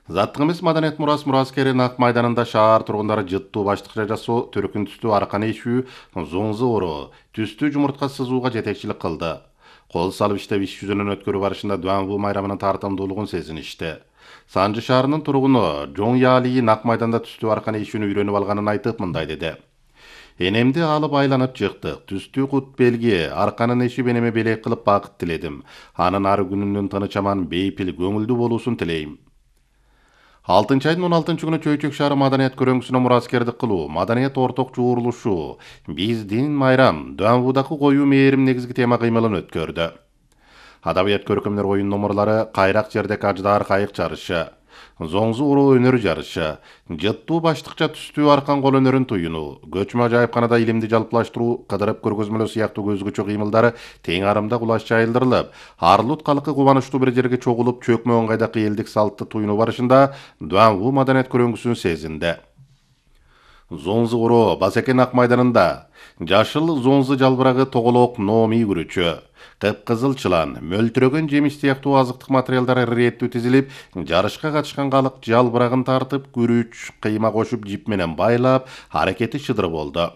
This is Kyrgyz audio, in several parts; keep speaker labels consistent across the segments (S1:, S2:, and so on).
S1: Заттык эмес маданият мураскери Ак майданында шаар тургундары жыттуу баштыкча жасоо, төркүн түстүү арканы ишүү, зоңзу ороо, түстүү жумуртка сызууга жетекчилик кылды. Кол салып иштеп иш жүзүнөн өткөрүү барышында Дуанву майрамынын тартымдуулугун сезиништи. Санжы шаарынын тургуну Жоң Яли Ак майданда түстүү арканы ишүүнү үйрөнүп алганын айтып мындай деди. Энемди алып айланып чыктык. Түстүү кут белги, арканын ишип энеме белек кылып бакыт тиледим. Анын ары күнүнүн тыныч аман, бейпил, көңүлдүү болуусун тилейм. 6 айдын 16 күнү Чөйчөк шаары маданият көрөңгүсүнө мураскердик кылуу, маданият орток жуурулушу, биздин майрам, Дуанвудагы коюу мээрим негизги тема кыймылын өткөрдү. Адабият көркөмдөр оюн номурлары кайрак жердек аждаар кайык жарышы, зоңзу уроо өнөр жарышы, жыттуу баштыкча түстүү аркан кол өнөрүн туюну, көчмө ажайыпканада илимди жалпылаштыруу, кыдырып көргөзмөлөө сыяктуу көзгөчө кыймылдары тең арымда кулаш жайылдырылып, Арлут калкы кубанычтуу бир жерге чогулуп чөкмө ыңгайдагы элдик салтты туюнуу барышында Дуанву маданият көрөңгүсүн сезинди. Зоңзу уроо Басекен Ак майданында жашыл зоңзу жалбырагы тоголок номи күрүчү, кыпкызыл чылан, мөлтүрөгөн жемиш сыяктуу азыктык материалдар иреттүү тизилип, жарышка катышкан калык жалбырагын тартып, күрүч, кыйма кошуп жип менен байлап, аракети шыдыр болду.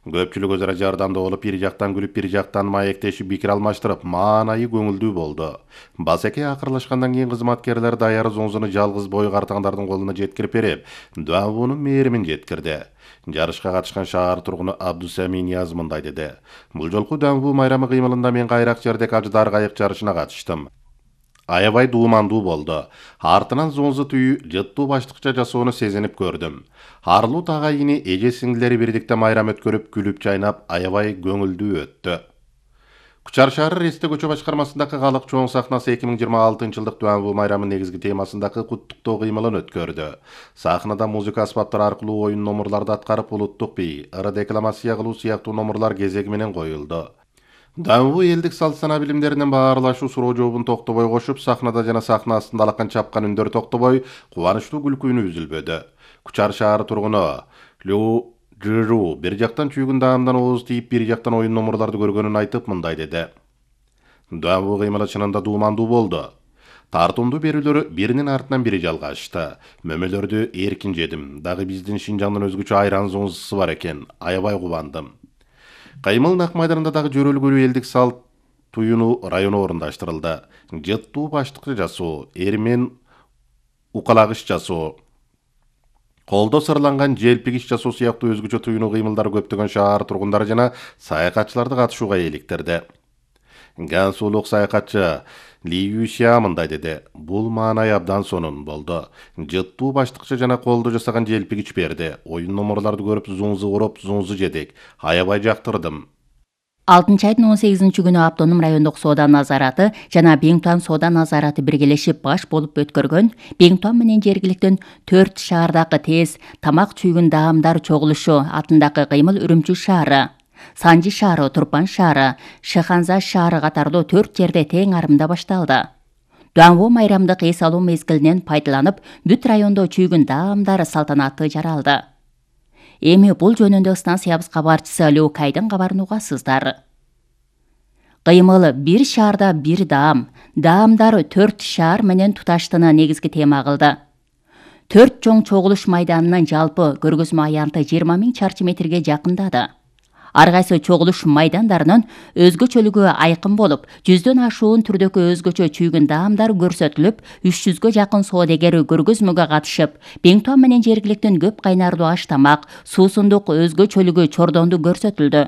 S1: Көпчүлүк өзара жардамдуу болуп, бир жактан күлүп, бир жактан маектешип, пикир алмаштырып, маанайы көңүлдүү болду. Басеке акырлашкандан кийин кызматкерлер даяры зоңзуну жалгыз бой картаңдардын колуна жеткирип берип, Дуанвунун мээримин жеткирди. Жарышка катышкан шаар тургуну Абдусами Нияз мындай деди. Бул жолку Дуанву майрамы кыймылында мен кайрак жердек аждаар кайык жарышына катыштым. Аябай дуумандуу болду. Артынан зоңзу түйүү, жыттуу баштыкча жасоону сезинип көрдүм. Арлут агайыны эже сиңдилери бирдикте майрам өткөрүп, күлүп чайнап, аябай көңүлдүү өттү. Кучар шаары Ресте көчө башкармасындагы калык чоң сахнасы 2026-жылдык Дуанву майрамынын негизги темасындагы куттуктоо кыймылын өткөрдү. Сахнада музыка аспаптары аркылуу оюн номурларды аткарып, улуттук бий, ыры декламация кылуу сыяктуу номурлар кезеги менен коюлду. Дуанву элдик салт сана билимдеринен баарлашуу суроо жообун токтобой кошуп, сахнада жана сахна астында алакан чапкан үндөр токтобой, кубанычтуу күлкү үнү үзүлбөдү. Кучар шаары тургуну Лю Жыру бир жактан чүйгүн даамдан ооз тийип, бир жактан оюн номурларды көргөнүн айтып мындай деди. Дуанву кыймылы чынында дуумандуу болду. Тартымдуу берүүлөр биринин артынан бири жалгашты. Мөмөлөрдү эркин жедим. Дагы биздин Шинжаңдын өзгөчө айран зоңзусу бар экен. Аябай кубандым. Кыймыл Ак майданында дагы жөрөлгөлүү элдик салт туюну району орундаштырылды. Жыттуу баштыкча жасоо, эрмен укалагыш жасоо, колдо сырланган желпигиш жасоо сыяктуу өзгөчө туюну кыймылдары көптөгөн шаар тургундары жана саякатчыларды катышууга эликтирди. Гансулук саякатчы Ли Юшя мындай деди. Бул маанай абдан сонун болду. Жыттуу баштыкча жана колдо жасаган желпигич берди. Оюн номурларды көрүп, зоңзу уруп, зоңзу жедик. Аябай жактырдым.
S2: 6-айдын 18 күнү автоном райондук соода назараты жана Беңтуан соода назараты биргелешип баш болуп өткөргөн Беңтуан менен жергиликтин 4 шаардагы тез тамак чүйгүн даамдар чогулушу атындагы кыймыл Үрүмчү шаары, Санжы шаары, Турпан шаары, Шыханза шаары катарлуу 4 жерде тең арымда башталды. Дуанву майрамдык эс алуу мезгилинен пайдаланып, бүт райондо чүйгүн даамдар салтанаты жаралды. Эми бул жөнүндө станциябыз кабарчысы Лю Кайдын кабарын угасыздар. Кыймыл бир шаарда бир даам, даамдар 4 шаар менен туташтыны негизги тема кылды. 4 чоң чогулуш майданынын жалпы көргөзмө аянты 20 000 чарчы метрге жакындады. Ар кайсы чогулуш майдандарынын өзгөчөлүгү айкын болуп, 100дөн ашуун түрдөгү өзгөчө чүйгүн даамдар көрсөтүлүп, 300гө жакын соодегер көргөзмөгө катышып, Беңтуан менен жергиликтин көп кайнардуу аш тамак, суусундук өзгөчөлүгү чордонду көрсөтүлдү.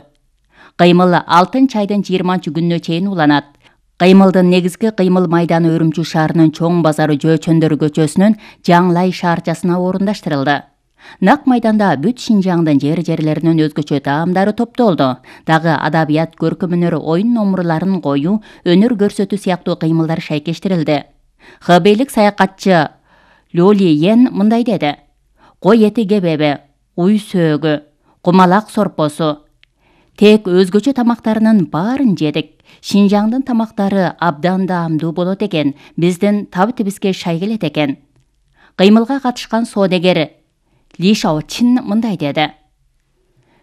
S2: Кыймыл 6-айдын 20 күнүнө чейин уланат. Кыймылдын негизги кыймыл майданы Үрүмчү шаарынын чоң базары Жөөчөндөр көчөсүнүн Жаңлай шаарчасына орундаштырылды. Ак майданда бүт Шинжаңдын жерлеринин өзгөчө даамдары топтолду. Дагы адабият көркөмөнөр оюн номурларын коюу, өнөр көрсөтүү сыяктуу кыймылдар шайкештирилди. Хбейлик саякатчы Лоли Йен мындай деди. Кой эти кебеби, уй сөөгү, кумалак сорпосу. Тек өзгөчө тамактарынын баарын жедик. Шинжаңдын тамактары абдан даамдуу болот экен. Биздин табы-тибизге шай келет экен. Кыймылга катышкан соодегер Ли Шаочин мындай деди.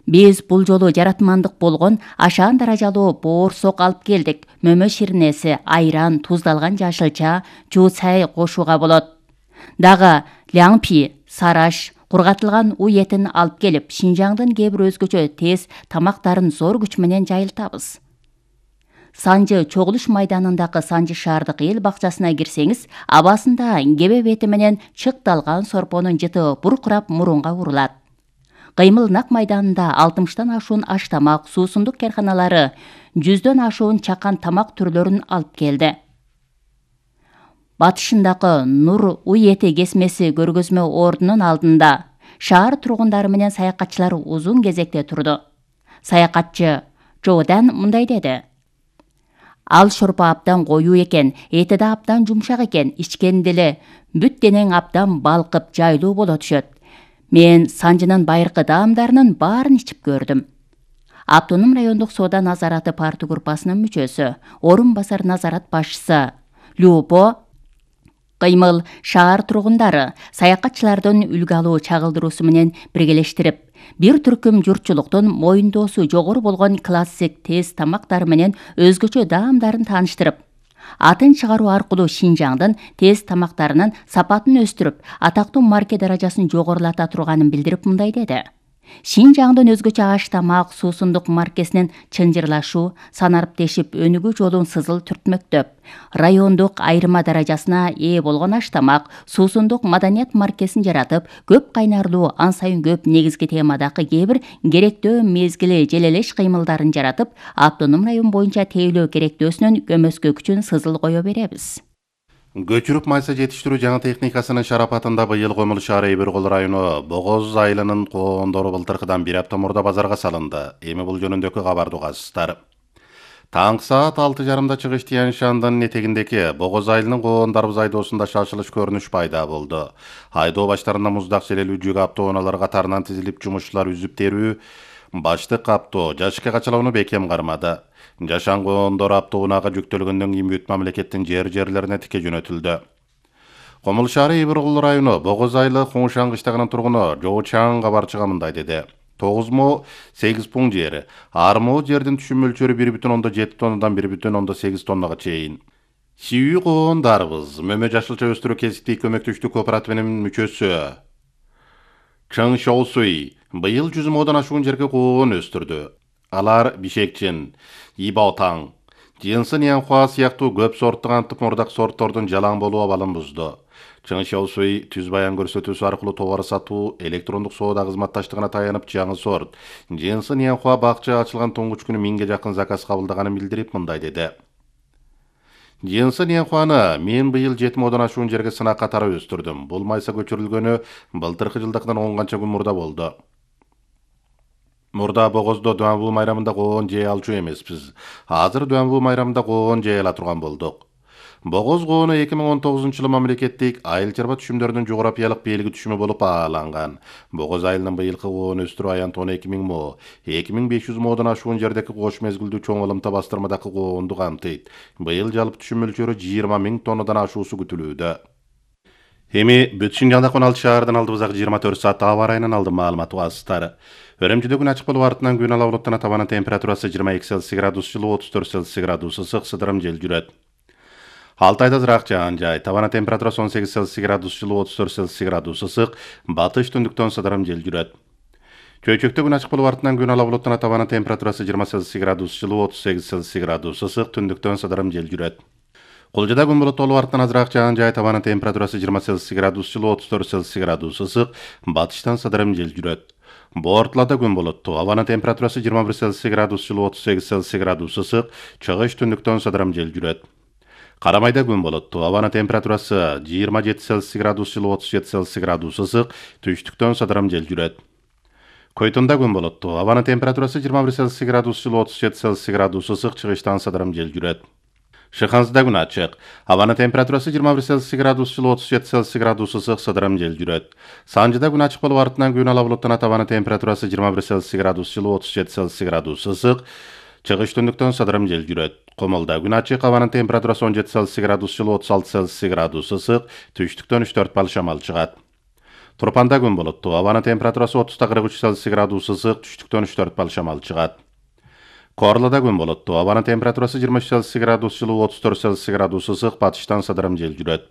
S2: Биз бул жолу жаратмандык болгон ашаан даражалуу боорсок алып келдик. Мөмө ширнеси, айран, туздалган жашылча, жуусай кошууга болот. Дагы Ляңпи, Сараш, кургатылган уй этин алып келип, Шинжаңдын кээ бир өзгөчө тез тамактарын зор күч менен жайылтабыз. Санжы чогулуш майданындагы Санжы шаардык эл бакчасына кирсеңиз, абасында кебе бети менен чыкталган сорпонун жыты буркурап мурунга урулат. Кыймыл нак майданында 60тан ашуун аш тамак, суусундук карканалары 100дөн ашуун чакан тамак түрлөрүн алып келди. Батышындагы Нур уй эти кесмеси көргөзмө ордунун алдында шаар тургундары менен саякатчылар узун кезекте турду. Саякатчы Жодан мындай деди: Ал шорпо абдан коюу экен, эти да абдан жумшак экен, ичкенде эле бүт денең абдан балкып, жайлуу боло түшөт. Мен Санжынын байыркы даамдарынын баарын ичип көрдүм. Автоном райондук соода назараты парты группасынын мүчөсү, орун басар назарат башчысы Любо Кыймыл шаар тургундары саякатчылардын үлгү алуу чагылдыруусу менен биргелештирип, бир түркүм журтчулуктун моюндоосу жогору болгон классик тез тамактары менен өзгөчө даамдарын тааныштырып, атын чыгаруу аркылуу Шинжаңдын тез тамактарынын сапатын өстүрүп, атактуу марке даражасын жогорулата турганын билдирип мындай деди: Шинжаңдын өзгөчө аш тамак суусундук маркесинин чынжырлашуу, санариптешип өнүгүү жолун сызыл түртмөктөп, райондук айырма даражасына ээ болгон аш тамак, суусундук маданият маркесин жаратып, көп кайнарлуу, ан сайын көп негизги темадагы кээ бир керектөө мезгили желелеш кыймылдарын жаратып, автоном район боюнча тейлөө керектөөсүнүн көмөскө күчүн сызыл кое беребиз.
S1: Көчүрүп майса жетиштирүү жаңы техникасынын шарапатында быйыл Комул шаары Эбиркул району Богоз айылынын коондору былтыркыдан бир апта мурда базарга салынды. Эми бул жөнүндөгү кабарды угасыздар. Таңкы саат 6:30 чыгыш Тиян шаандын этегиндеки Богоз айылынын коондарбыз айдоосунда шашылыш көрүнүш пайда болду. Айдоо баштарында муздак желелүү жүк автоунаалар катарынан тизилип жумушчулар үзүп терүү, баштык автоо жашыкка качалоону бекем кармады. Жашан коондор автоунаага жүктөлгөндөн кийин бүт мамлекеттин жерлерине тике жөнөтүлдү. Комул шаары Эбиркул району Богоз айылы Куңшан кыштагынын тургуну Жоочаң кабарчыга мындай деди: 9,8 пункт жери, армоо жердин түшүм мөлчөрү 1,7 тоннадан 1,8 тоннага чейин. Сүйүү коондарбыз Мөмө жашылча өстүрүү кесиптик көмөктөштүк кооперативинин мүчөсү Чың Шоусуй быйыл 100 модон ашуун жерге коон өстүрдү. Алар Бишекчин, Ибаотаң, Жынсын Янхуа сыяктуу көп сорттук антып мурдак сорттордун жалаң болуу абалын бузду. Чың Шоусуй түз баян көрсөтүүсү аркылуу товар сатуу, электрондук соода кызматташтыгына таянып жаңы сорт Жынсын Янхуа бакча ачылган туңгуч күнү 1000ге жакын заказ кабылдаганын билдирип мындай деди: Жынсын Янхуаны мен быйыл 7 модон ашуун жерге сынак катары өстүрдүм. Бул майса көчүрүлгөнү былтыркы жылдыкынан 10 канча күн мурда болду. Мурда Богоздо Дуанбу майрамында коон жей алчу эмеспиз. Азыр Дуанбу майрамында коон жей ала турган болдук. Богоз коону 2019-жылы мамлекеттик айыл чарба түшүмдөрүнүн жогорапиялык белги түшүмү болуп бааланган. Богоз айылынын быйылкы коон өстүрүү аянт 12.000 мо, 2500 модон ашуун жердеки кош мезгилдүү чоң ылымта бастырмадагы коонду камтыйт. Быйыл жалпы түшүм мөлчөрү 20.000 тоннадан ашуусу күтүлүүдө. Эми бүт Шинжаңда 16 шаардын алдыбызак 24 саат аба ырайынын алдын маалыматы угасыздар. Өрөмчүдө күн ачык болуп артынан күн ала булуттан табанын температурасы 22 Цельсий градус жылуу, 34 Цельсий градус ысык, сыдырым жел жүрөт. Алтайда ызыраак жаан жай, табанын температурасы 18 Цельсий градус жылуу, 34 Цельсий градус ысык, батыш түндүктөн сыдырым жел жүрөт. Чөйчөктө күн ачык болуп артынан күн ала булуттан табанын температурасы 20 Цельсий градус жылуу, 38 Цельсий градус ысык, түндүктөн сыдырым жел жүрөт. Кулжада күн булут болуп артынан азыраак жаан жай, табанын температурасы 20 Цельсий градус жылуу, 34 Цельсий градус ысык, батыштан сыдырым жел жүрөт. Бортулада күн булуттуу, абанын температурасы 21 Цельсий градус жылуу, 38 Цельсий градус ысык, чыгыш түндүктөн сыдырым жел жүрөт. Карамайда күн булуттуу, абанын температурасы 27 Цельсий градус жылуу, 37 Цельсий градус ысык, түштүктөн сыдырым жел жүрөт. Койтунда күн булуттуу, абанын температурасы 21 Цельсий градус жылуу, 37 Цельсий градус ысык, чыгыштан сыдырым жел жүрөт. Шыхансыда күн ачык, абанын температурасы 21 Цельсий градус жылуу, 37 Цельсий градус ысык, сыдырым жел жүрөт. Санжыда күн ачык болуп артынан күн ала булуттан табанын температурасы 21 Цельсий градус жылуу, 37 Цельсий градус ысык, чыгыш түндүктөн сыдырым жел жүрөт. Комулда күн ачык, абанын температурасы 17 Цельсий градус жылуу, 36 Цельсий градус ысык, түштүктөн 3-4 бал шамал чыгат. Турпанда күн булуттуу, абанын температурасы 30-43 Цельсий градус ысык, түштүктөн 3-4 бал шамал чыгат. Корлада күн булуттуу, абанын температурасы 23 Цельсий градус жылуу, 34 Цельсий градус ысык, батыштан сыдырым жел жүрөт.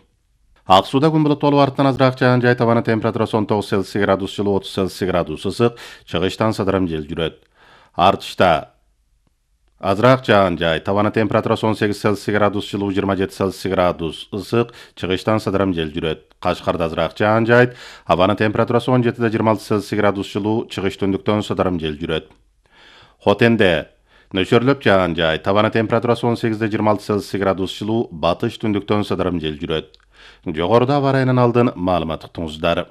S1: Ак сууда күн булуттуу арттан азыраак жаан жай, табаны температурасы 19 Цельсий градус жылуу, 30 Цельсий градус ысык, чыгыштан сыдырым жел жүрөт. Артышта азыраак жаан жай, табаны температурасы 18 Цельсий градус жылуу, 27 Цельсий градус ысык, чыгыштан сыдырым жел жүрөт. Кашкарда азыраак жаан жай, абанын температурасы 17-26 Цельсий градус жылуу, чыгыш түндүктөн сыдырым жел жүрөт. Хотенде нөшөрлөп жаан жай, табаны температурасы 18-26 Цельсий градус жылуу, батыш түндүктөн сыдырым жел жүрөт. Жогоруда аба ырайынан алдын маалымат уктуңуздар.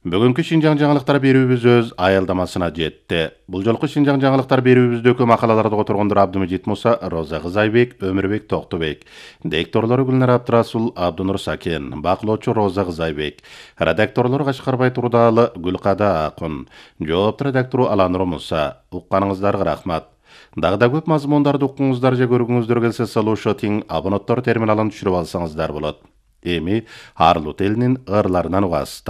S1: Бүгүнкү Шинжаң жаңылыктар берүүбүз өз аялдамасына жетти. Бул жолку Шинжаң жаңылыктар берүүбүздөгү макалаларды которгондор Абдымежит Муса, Роза Кызайбек, Өмүрбек Токтобек. Дикторлору Гүлнар Абдрасул, Абдынур Сакен, бакылоочу Роза Кызайбек. Редакторлору Кашкарбай Турдаалы, Гүлкада Акун. Жоопту редактору Аланур Муса. Укканыңыздарга рахмат. Дагы да көп мазмундарды уккуңуздар же көргүңүздөр келсе, Solution абоненттор терминалын түшүрүп алсаңыздар болот. Эми Арлут элинин ырларынан угасыздар.